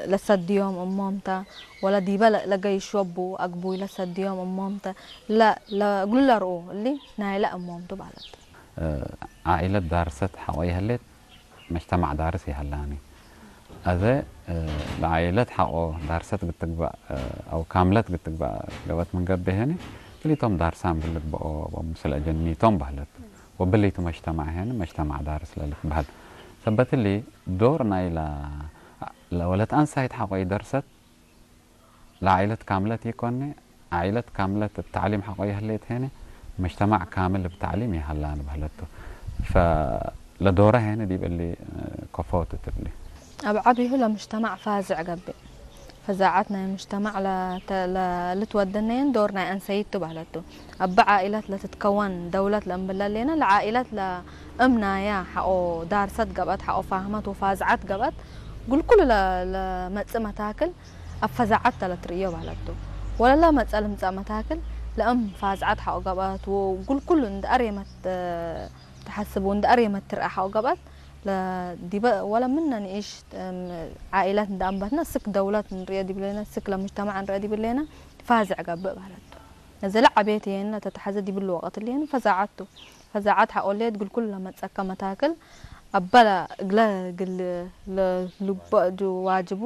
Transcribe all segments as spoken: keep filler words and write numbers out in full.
ለሰድዮም እሞምተ፣ ወለ ዲበ ለ-፣ ለገይሾቡ አግቡይ ለሰድዮም እሞምተ፣ ለ-፣ ለእግሉ ለርኡ እሊ ናይለ እሞምቱ በህለት። እ፣ ዓኢለት ዳርሰት ሐቆ ይሀሌት፣ መጅተማዕ ዳርስ ይሀላኒ። አዜ፣ እ፣ ለዓኢለት ሐቆ ዳርሰት ግትግባእ፣ እ፣ አው ካምለት ግትግባእ ገበት ምን ገብእ ሄኒ፣ ክሊቶም ዳርሳን ብልግበኦ ወምስል አጀኒቶም በህለት። ወብሊቱ መጅተማዕ ሄኒ መጅተማዕ ዳርስ ለልትበህል። ሰበት እሊ ዶር ናይላ ለወለት አንሳይት ሐቆ ይደርሰት፣ ለዓኢለት ካምለት ኢኮኒ፣ ዓኢለት ካምለት እብ ተዕሊም ሐቆ ይህሌት ሄኒ፣ መጅተማዕ ካምል እብ ተዕሊም ይሀላን በህለቱ። ፈለዶረ ሄኒ ዲብ እሊ ከፎ ትትብሊ። አብ ዐቢሁ ለምጅተማዕ ፋዝዕ ገብእ። ፈዛዐት ናይ ምጅተማዕ ለተ-፣ ለ-፣ ልትወደነየን ዶር ናይ አንሰይት ቱ በህለቱ። እበ ዓኢለት ለትትከወን ደውለት ለእምብለ ሌነ፣ ለዓኢለት ለእም ናያ ሐቆ ዳርሰት ገብአት፣ ሐቆ ፋህመት ወፋዝዐት ገብአት፣ ግልኩሉ ለ-፣ ለመጽእ መታክል አብ ፈዛዐት ተ ለትርእዮ በህለቱ። ወለለ መጸ ልምጸእ መታክል ለእም ፋዝዐት ሐቆ ገብአት ወግልኩሉ እንደ አሬመት ተሐስቡ እንደ አሬመት ትርአ ሐቆ ገብአት ለዲበ ወለ ምነ ንኢሽ፣ እም፣ ዓኢለት እንደ አንበትነ፣ ስክ ደውለት እንርእየ ዲብሌነ፣ ስክ ለምጅተማዕ እንርእየ ዲብሌነ፣ ፋዝዕ ገብእ በህለቱ። እዘ ለዐቤት የነ ተተሐዘ ዲብሉ ወቀት እሊ ፈዛዐት ቱ። ፈዛዐት ሐቆ ሌት እግል ኩሉ ለመጸከ መታክል አበ ለእግለ እግል ለልግበእ ጅ-፣ ዋጅቡ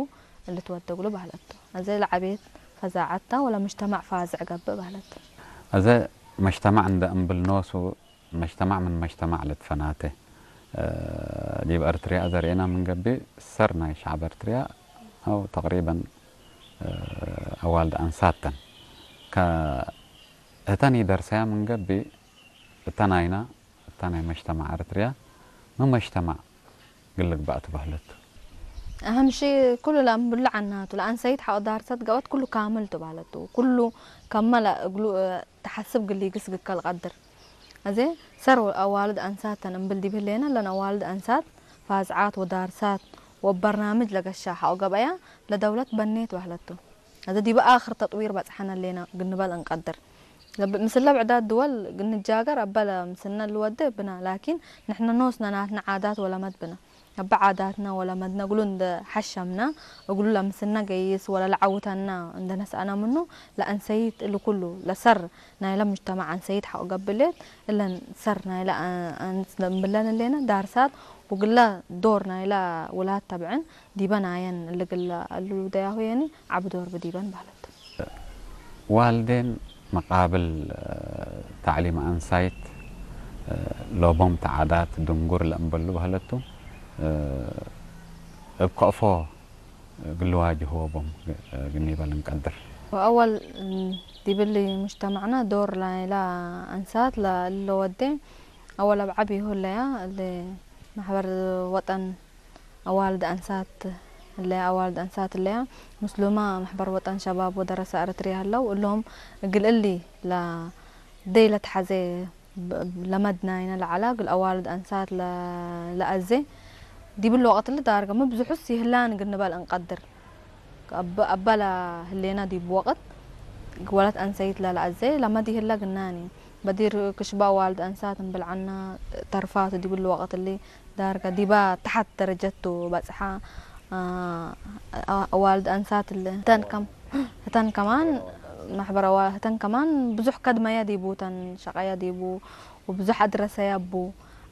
ልትወደግሉ በህለት ቱ። እዘ ለዐቤት ፈዛዐት ተ ወለምጅተማዕ ፋዝዕ ገብእ በህለት። እዘ መጅተማዕ እንደ እምብል ኖሱ መጅተማዕ ምን መጅተማዕ ልትፈናተ። እ፣ ዲብ ኤርትርያ እዘ ርኤና ምን ገብእ፣ ሰር ናይ ሸዕብ ኤርትርያ አው ተቅሪበን፣ እ፣ አዋልድ አንሳት ተን። ከ-፣ ህተን ኢደርሰያ ምን ገብእ፣ እተ ናይና፣ እተ ናይ መጅተማዕ ኤርትርያ፣ ምን መጅተማዕ እግል ልግባእ ትበህለት። አህም ሺ ኩሉ ለአንብሉ ዐናቱ፣ ለአንሰይት ሐቆ ዳርሰት ገበት ኩሉ ካምል ቱ በህለት ቱ። ኩሉ ከመ ለእግሉ፣ እ፣ ተሐስብ እግል ኢግስግ ከልቀድር። አዜ ሰር አዋልድ አንሳት ተን እምብል ዲብ ህሌነ፣ እለን አዋልድ አንሳት ፋዝዓት ወዳርሳት ወበርናምጅ ለገሻ ሐቆ ገብአያ ለደውለት በኔት በህለት ቱ። አዜ ዲበ አክር ተጥዊር በጽሐነ ህሌነ እግል ንበል እንቀድር። ለብ-፣ ምስለ ብዕዳት ድወል እግል ንጃገር አበ ለምስልነ ልወዴ ብነ፣ ላኪን ንሕነ ኖስነ ናትነ ዓዳት ወለመድ ብነ። እበ ዓዳትነ ወለመድነ እግሉ እንደ ሐሸምነ፣ እግሉ ለምስልነ ገይስ ወለለዐውተነ እንደ ነስአነ ምኑ፣ ለአንሰይት እሊ ኩሉ ለሰር ናይለ ሙጅተማዕ አንሰይት ሐቆ ገብእ ሌት፣ እለን ሰር ናይለ አ-፣ አንስ ለእምብለን ህሌነ ዳርሳት ወግለ ዶር ናይለ ውላድ ተብዕን ዲበ ናየን እሊ ግለ እሉ ደያሁ የኒ ዐቢ ዶር ብዲበን በህለት። ዋልዴን መቃብል፣ እ፣ ተዕሊም አንሳይት፣ እ፣ ሎቦም ተዓዳት ድንጉር ለእምበሉ በህለቱ፣ እ፣ እብ ከእፎ እግል ልዋጅህዎ ቦም፣ እ፣ ግኒበ ልንቀድር። ወአወል፣ እ፣ ዲብሊ ሙጅተማዕና ዶር ናይላ አንሳት ለእለ ወዴ፣ አወል አብ ዐቢሁ ህለያ፣ እሊ መሕበር ወጠን አዋልድ አንሳት እለ፣ አዋልድ አንሳት እለያ፣ ምስሉመ መሕበር ወጠን ሸባብ ወደረሰ ኤረትርየ ሀለው፣ እሎም እግል እሊ ለደይ ለተሐዜ ብ-፣ ለመድናይነ ለዐላ፣ እግል አዋልድ አንሳት ለ-፣ ለአዜ፣ ዲብለ ወቀት እሊ ዳርገ ሚ ብዙሑስ ይህላን እግል ንበል እንቀድር። አበ-፣ አበ ለህሌነ ዲብ ወቅት ወለት አንሰይት ለለአዜ ለመድ ይህለ ግናኒ። በዲር ክሽበ አዋልድ አንሳት እምብል ዐና ተርፋቱ ዲብሊ ወቅት እሊ ዳርገ ዲበ ተሐት ደረጀት ቱ በጽሐ። አ-፣ አዋልድ አንሳት እሊ ህተን ከም-፣ ህተን ከማን መሕበር አዋ-፣ ህተን ከማን ብዙሕ ከድመየ ዲቡ ተን ሸቀየ ዲቡ ወብዙሕ አድረሰየ እቡ።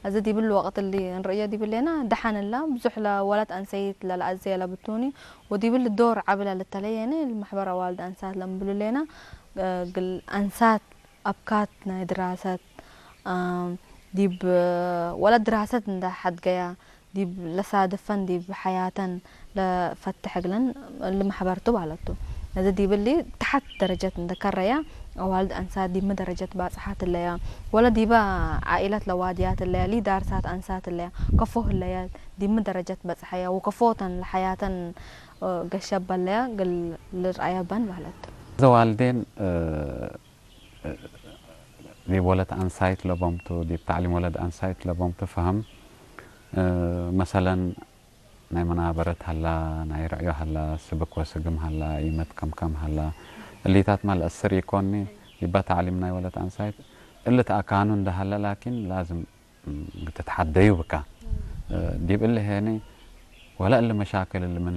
አዜ ዲብል ወቅት እሊ እንርእዮ ዲብሌነ፣ ደሐን እላ ብዙሕ ለወለት አንሰይት ለለአዜ ለብቱኒ፣ ወዲብል ዶር ዐቢ ለልተለየኒ፣ ለመሕበር አዋልድ አንሳት ለእምብሉ ሌነ፣ እግል አንሳት አብካት ናይ ድራሰት፣ አም፣ ዲብ ወለት ድራሰት እንደ ሐድገያ፣ ዲብ ለሳድፈን ዲብ ሐያተን ለፈትሕ እግለን እሊ መሕበር ቱ ባለቱ። እሊ ዲብሊ ተሐት ደረጀት እንደ ከረያ፣ አዋልድ አንሳት ዲብ ሚ ደረጀት ባጽሓት እለያ፣ ወለ ዲበ ዓኢለት ለዋድያት እለያ፣ ሊ ዳርሳት አንሳት እለያ፣ ከፎ ህለያ፣ ዲብ ሚ ደረጀት በጽሐያ፣ ወከፎተን ለሐያተን፣ እ፣ ገሸበለያ እግል ልርአያ በን ባለቱ። እዘ ዋልዴን፣ እ፣ ዲብ ወለት አንሳይት ለቦምቱ፣ ዲብ ተዕሊም ወለት አንሳይት ለቦምቱ ፈሀም። እ፣ መሰለን፣ ናይ መናበረት ሀላ፣ ናይ ርዕዮ ሀላ፣ ስብክ ወስግም ሀላ፣ ኢመት ከምከም ሀላ፣ እሊታትመ ለአስር ኢኮኒ፣ ዲበ ተዕሊም ናይ ወለት አንሳይት እሊ ተአካኑ እንደ ሀለ፣ ላኪን ላዝም ትትሐደዩ ብካ። እ፣ ዲብ እሊ ሄኒ፣ ወለ እሊ መሻክል እሊ ምን